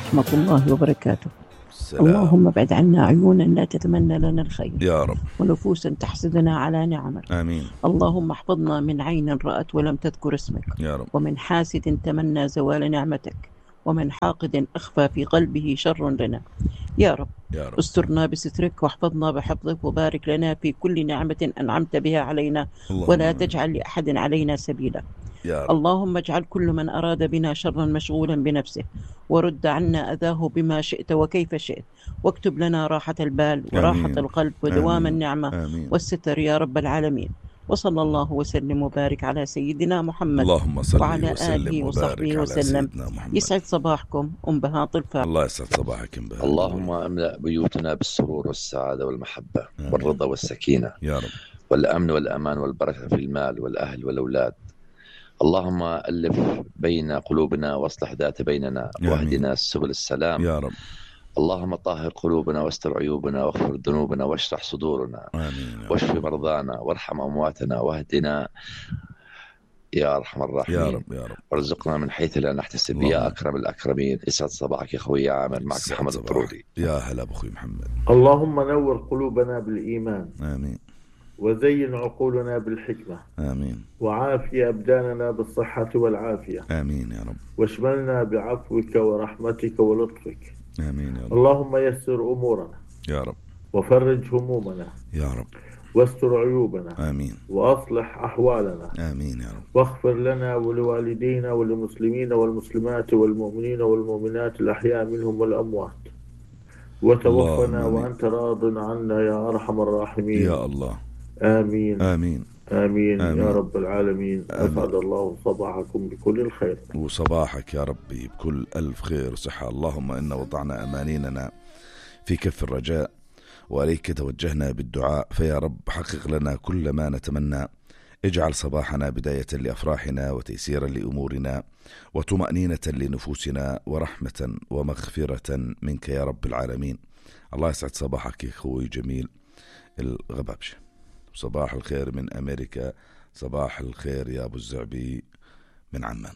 ورحمة الله وبركاته. السلام. اللهم ابعد عنا عيونا لا تتمنى لنا الخير يا رب، ونفوسا تحسدنا على نعمك. آمين. اللهم احفظنا من عين رأت ولم تذكر اسمك، يا رب. ومن حاسد تمنى زوال نعمتك، ومن حاقد أخفى في قلبه شر لنا. يا رب، يا رب. استرنا بسترك واحفظنا بحفظك، وبارك لنا في كل نعمة أنعمت بها علينا، ولا تجعل لأحد علينا سبيلا. يا رب. اللهم اجعل كل من أراد بنا شرا مشغولا بنفسه، ورد عنا أذاه بما شئت وكيف شئت، واكتب لنا راحة البال وراحة آمين. القلب ودوام النعمة آمين. والستر يا رب العالمين. وصلى الله وسلم وبارك على سيدنا محمد، اللهم صل وعلى وسلم آله وبارك وصحبه على وسلم. سيدنا محمد. يسعد صباحكم أم بهاء الفاتحة. الله يسعد صباحك أم بهاء. اللهم املأ بيوتنا بالسرور والسعادة والمحبة والرضا والسكينة يا رب، والأمن والأمان والبركة في المال والأهل والأولاد. اللهم ألف بين قلوبنا واصلح ذات بيننا واهدنا سبل السلام يا رب. اللهم طهر قلوبنا واستر عيوبنا واغفر ذنوبنا واشرح صدورنا، آمين. واشف مرضانا وارحم أمواتنا واهدنا يا أرحم الراحمين. يا رب، يا رب. وارزقنا من حيث لا نحتسب يا أكرم الأكرمين. يسعد صباحك يا خوي عامر، معك محمد الطرودي. يا هلا بأخوي محمد. اللهم نور قلوبنا بالإيمان، آمين. وزين عقولنا بالحكمة، آمين. وعافي أبداننا بالصحة والعافية، آمين يا رب. واشملنا بعفوك ورحمتك ولطفك. آمين يا رب. اللهم يسر أمورنا يا رب، وفرج همومنا يا رب. واستر عيوبنا. آمين. وأصلح أحوالنا. آمين يا رب. واغفر لنا ولوالدينا وللمسلمين والمسلمات والمؤمنين والمؤمنات الأحياء منهم والأموات، وتوفنا وأنت راض عنا يا أرحم الراحمين. يا الله. آمين. آمين. آمين. آمين يا رب العالمين. أسعد الله صباحكم بكل الخير. وصباحك يا ربي بكل ألف خير وصحة. اللهم إنا وضعنا أمانيننا في كف الرجاء، وإليك توجهنا بالدعاء، فيا رب حقق لنا كل ما نتمنى. اجعل صباحنا بداية لأفراحنا وتيسيرا لأمورنا وطمأنينة لنفوسنا ورحمة ومغفرة منك يا رب العالمين. الله يسعد صباحك يا أخوي جميل الغبابشة. صباح الخير من أمريكا. صباح الخير يا أبو الزعبي من عمان.